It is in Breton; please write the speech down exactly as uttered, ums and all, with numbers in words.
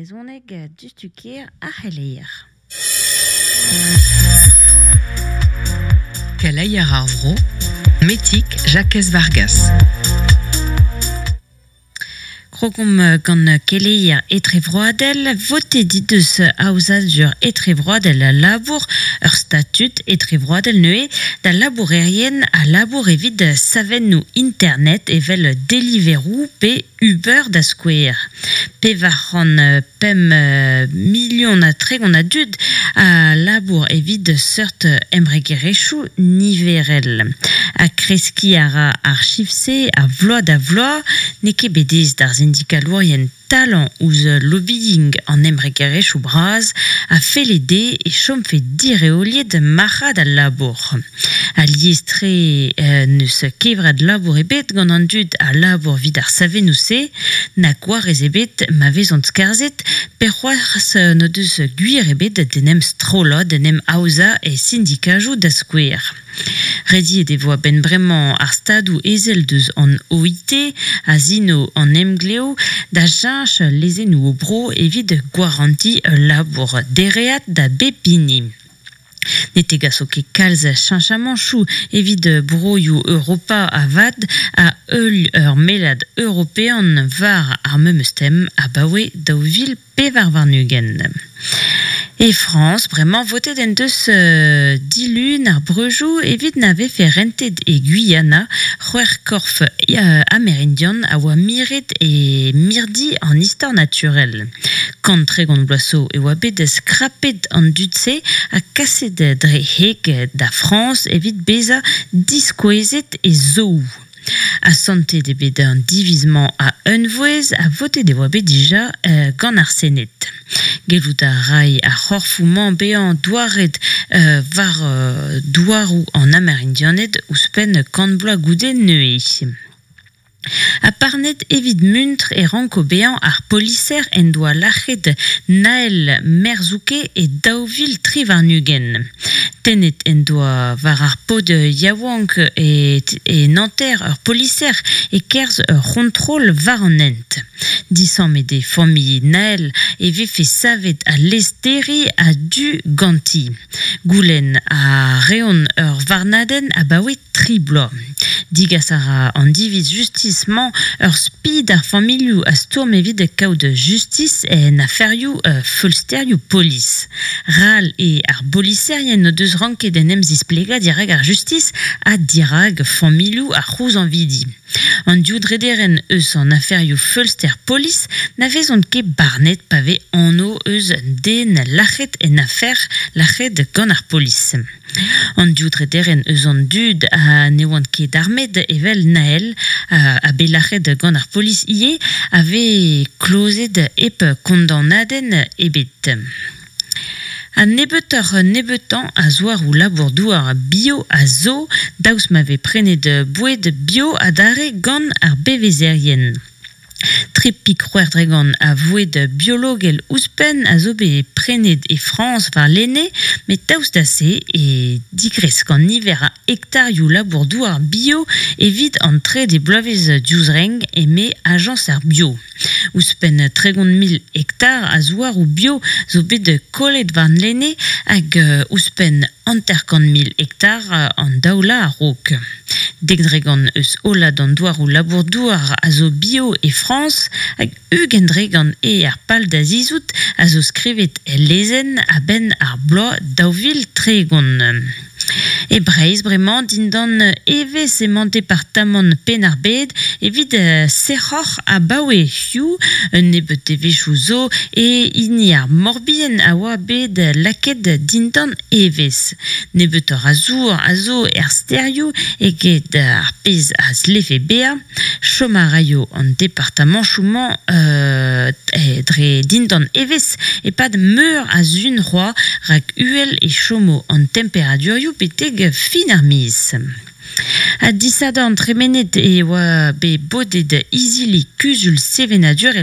brezhoneg diouzhtu-kaer ar c'heleier. Keleier ar vro, Metig Jakez Vargas. Krogomp gant keleier etrevroadel, votet he deus aozadur etrevroadel al labour, ur statud etrevroadel neuze, da labourerien a labour evit savennoù internet evel Deliveroo pe Uber da skouer. Pevar c'hant pemp milion ha tregont a dud a labour evit seurt embregerezhioù niverel. Ha kreskiñ a ra ar chif-se a vloaz da vloaz, n'eo ket bet aes d'ar sindikalourien talañ ouzh lobbying an embregerezhioù bras a felle dezhe e chomfe direoliet marc'had al labour. Alies-tre n'eus kevrat labour ebet gant an dud a labour evit ar savennoù-se, na gwarez ebet ma vezont skarzhet, pe c'hoazh n'o deus gwir ebet d'en em strollañ, d'en em aozañ e sindikajoù da skouer. Rediet e vo a-benn bremañ ar stadoù ezel deus an O I T a sino an emglev da cheñch lezennoù o bro evit gwarantiñ ul labour dereat da bep hini. Ne tegaso ket kalz cheñchamantoù evit broioù Europa avat a heul ur mellad european war ar memes tem abaoe daou vil pevar warn-ugent. E Frañs, bremañ votet en deus euh, dilun ar breujoù evit na vefe rentet e Guyana c'hwec'h korf euh, amerindian a oa miret e mirdi an istor naturel. Kant tregont bloaz zo e oa bet skrapet an dud-se ha kaset dre heg da Frañs evit bezañ diskouezet e zoo. Asantet eo bet an diviz-mañ a unvouezh ha votet e oa bet dija euh, gant ar Sened. Gellout a ray ar c'horfoù-mañ bezañ douaret euh, war euh, douaroù an Amerindianed ouzhpenn kant bloaz goude neuze. Ha parnet evit muntr e ranko bezañ ar poliser en doa lac'het Naël Merzouke e daou vil tri warn-ugent. Tennet en doa war ar paotr yaouank e, e Nanterre ur poliser e-kerzh ur c'hontrol war an hent. Disammet eo familh Naël e vefe savet al lez-terriñ a-du ganti. Goulenn a reont ur varnadenn abaoe tri bloaz. Digas a ra an diviz justis-mañ ur spi d'ar familhoù a stourm evit kaout justis en aferioù euh, feulsterioù polis. Ral eo ar boliserien o deus ranket en em zisplegañ dirak ar justis ha dirak familhoù ar c'houzañvidi. An div drederenn eus an aferioù feulster polis na vezont ket barnet pa vez anv eus den lac'het en afer lac'het gant ar polis. An div drederenn eus an dud a ne oant ket armet evel Naël a, a bet lac'het gant ar polis ivez a vez klozet hep kondanadenn ebet. Ha nebeutoc'h nebeutañ a zouaroù labour-douar bio a zo, daoust ma vez prenet boued bio adarre gant ar bevezerien. Trepik c'hwec'h dregont a voued biologel ouzhpenn a zo bet prenet e Frañs war lene, met daoust da se e digresk an niver a hektarioù labour-douar bio evit an trede bloavezh diouzh renk eme ajañs ar bio. Ouzhpenn tregont mil hektar a zouaroù bio zo bet kollet war lene hag ouzhpenn hanter-kant mil hektar an daoula a-raok. Dek dregont eus hollad an douaroù labour-douar a zo bio e Frañs hag ugent dregont eo ar pal da zizout a zo skrivet el lezenn a-benn ar bloaz daou vil tregont. E Breizh bremañ dindan evezh emañ departamant Penn-ar-Bed evit sec'hoc'h abaoe hiziv un nebeud devezhioù zo e hini ar Morbihan a oa bet lakaet dindan evezh. Nebeutoc'h a zour a zo er stêrioù eget ar pezh a zlefe bezañ. Chom a raio an departamantoù-mañ euh, dre dindan evezh e-pad meur a sun c'hoazh rak uhel e chomo an temperadurioù betek fin ar miz. Ha disadorn tremenet e oa bet bodet izili kuzul sevenadurel